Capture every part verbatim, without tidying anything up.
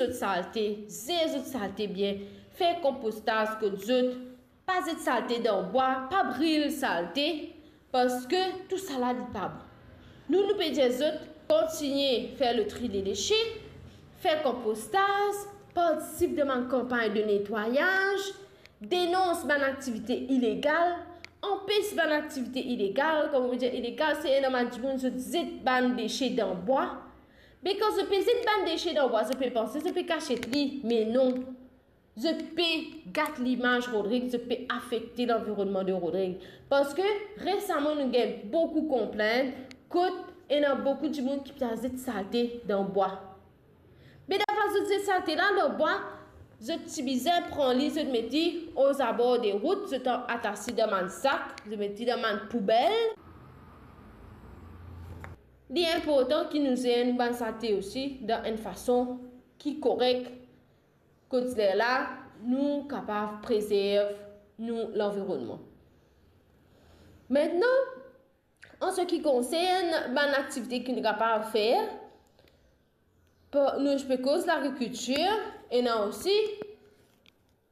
zot salte, zer zot salte bien, fer konpostaz kot zot, pa zet salte dan bwa, pa bril salte, parski tousala li pa bon. Nou, nou pe dir zot, kontigne fer le tri de dese, fer konpostaz, partisip dan bann kanpagn de netwayaz, denons bann aktivite ilegal, anpes bann aktivite ilegal. Kan mo dir ilegal, se ena bann dimoun zot zet bann dese dan bwa. Me kan zot pe zet bann dese dan bwa, zot pe panse zot pe kasiet li, me non. Zot pe gat limaz Rodrig, zot pe afekte lanvironnman de Rodrig. Parski resaman nou gagn boukou konplint kot ena boukou dimoun ki pe al zet salte dan bwa. Me dan plas zot zet salte la dan bwa, zot ti bizin pran li, zot met li ozabor de rout, zot atas li dan bann sak, zot met li dan bann poubel. Li inportan ki nou zer nou bann salte osi dan enn fason ki korek, kot lerla nou kapav prezerv nou lanvironnman. Aster, an se ki konsern bann aktivite ki nou kapav fer, pa-, nou pe koz lagrikiltir, ena osi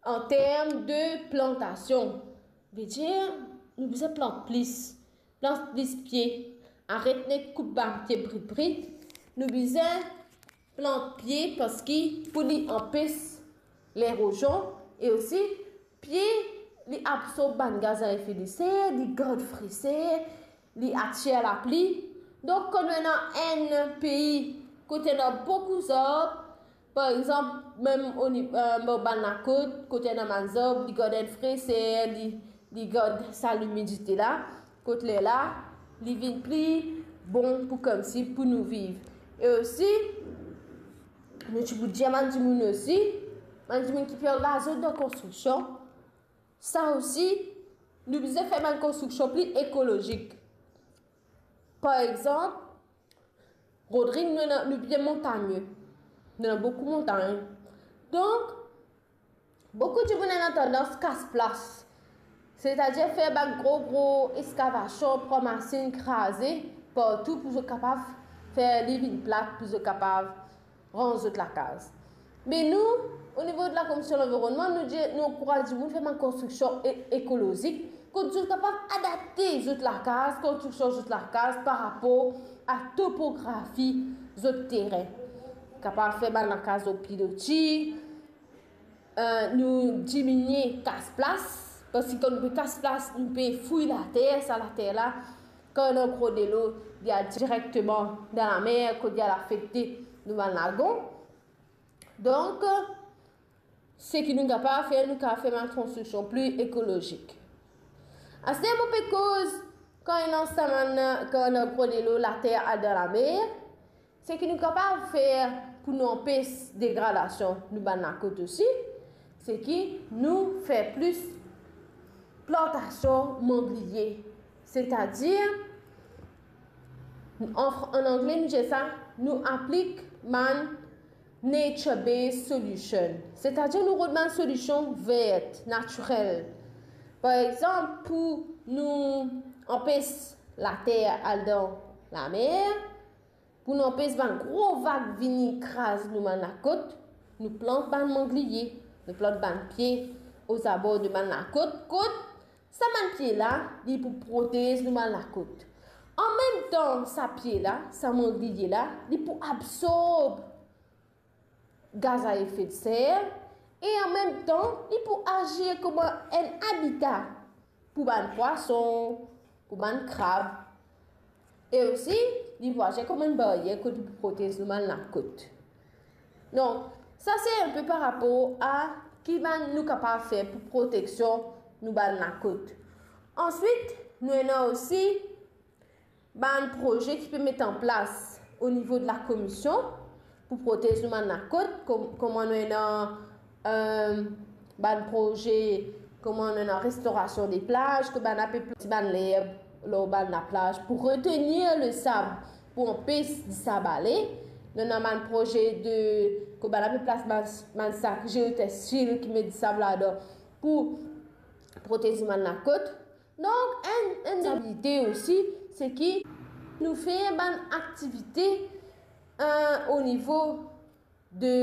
an term de plantasion. Vedir, nou bizin plant plis, plant plis pie, aret net koup bann pie brit brit. Nou bizin plant pie parski pou li anpes lerozion, e osi pie li absorb bann gaz a efe de ser, li gard freser, li atir lapli. Donk, kan nou ena enn pei kot ena boukou zarb, par exanp, mem oni-, eh, bann lakot, kot ena bann zarb, li gard enn freser, li, li gard sa limidite la, kot lerla li vinn pli bon pou koumsi pou nou viv. E osi, nou ti pou dir bann dimoun osi, bann dimoun ki pe angaz zot dan konstriksion, sa osi, nou bizin fer bann konstriksion pli ekolozik. Par exanp, Rodrig, nou ena, nou bien montagne. Nou ena boukou montagn. Donk, boukou dimoun ena tandans kas plas. Setadir fer bann gro, gro eskavasion, pran masinn, kraze partou pou zot kapav fer li vinn plat, pou zot kapav ranz zot lakaz. Me nou, onivo de Lakomision Lanvironnman, nou dir, nou ankouraz dimoun fer bann konstriksion e-, ekolozik, kot zot kapav adapte zot lakaz, konstriksion zot lakaz par rapor a topografi zot terin. Kapav fer bann lakaz lor piloti, eh, nou diminie kas plas, parski kan nou pe kas plas, nou pe fouy later, sa later la, kan ena gro delo, li al direkteman dan lamer, kot li al afekte nou bann lagon. Donk, seki nou kapav fer, nou kapav fer bann konstriksion pli ekolozik. Aster mo pe koz kan ena sa bann, kan ena gro delo, later al dan lamer, seki nou kapav fer pou nou anpes degradasion nou bann lakot osi, seki nou fer plis plantasion mangliye. Setadir, an fr-, an angle nou dir sa, nou aplik bann nature-based solution. Setadir nou rod bann solision ver, natirel. Par exanp, pou nou anpes later al dan lamer, pou nou anpes bann gro vag vini kraz nou bann lakot, nou plant bann mangliye, nou plant bann pie ozabor de bann lakot, kot sa bann pie la, li pou protez nou bann lakot. An mem tan, sa pie la, sa mangliye la, li pou absorb gaz a efe de ser, e an mem tan, li pou azir kouma enn abita pou bann pwason, pou bann krab, e osi, li pou azir kouma enn baryer kot li pou protez nou bann lakot. Donk, sa se inpe par rapor a ki bann nou kapav fer pou proteksion nou bann lakot. Answit, nou ena osi bann proze ki pe met an plas onivo de lakomision pou protez nou bann lakot, kom-, kouma nou ena, eh, bann proze, kouma nou ena restorasion de plaz, kot bann la pe plant bann lerb lor bann laplaz pou retenir lesab, pou anpes disab ale. Nou ena bann proze de, kot bann la pe plas bann, bann sak geotextile ki met disab ladan pou protez bann lakot. Donk, enn, enn abilite osi, seki nou fer bann aktivite, eh, onivo de